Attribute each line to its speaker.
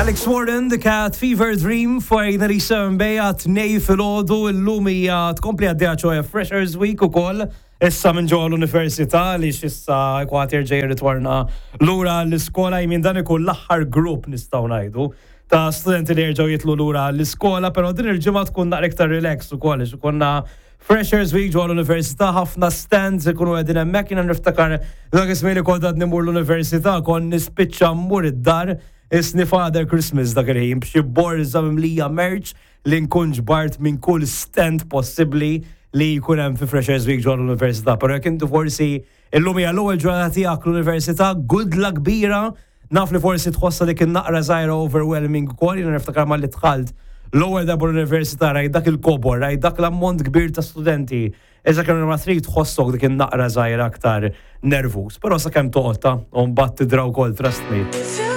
Speaker 1: Alex Warren, The Cat Fever Dream fuq 97 Bay għat-tnej filgħodu illum hija tkompli għaddejja ċoħe Freshers Week ukoll issa minn ġewwa l-università li issa kważi jerġa' jirritorna lura l-iskola jmin dan ikun l-aħħar grupp nistgħu ngħidu ta' studenti li jerġgħu jitlu lura l-iskola, però din il-ġimgħa tkun naqra iktar relax ukoll għax ikollna Freshers Week ġewwa l-università, ħafna stands ikunu qegħdin hemmhekk. Jiena niftakar dak iż-żmien li kont għadni mmur l-università, kont nispiċċa mmur id-dar isni Father Christmas dak il-ħin b'xi borża mimlija merch li nkun ġbart minn kull stand possibbli li jkun hemm fi Freshers Week ġewwa l-università. Però jekk inti forsi illum hija l-ewwel ġurnata tiegħek l-università, good luck kbira. Naf li forsi tħossha dik in-naqra żgħira overwhelming ukoll, jiena niftakar malli dħalt l-ewwel darba l-università rajt dak il-kobor, rajt dak l-ammont kbir ta' studenti. Iżda kemm ma trid tħossok dik in-naqra żgħira aktar nervuż, però sakemm toqgħod ta' u mbagħad tidra wkoll, trust me.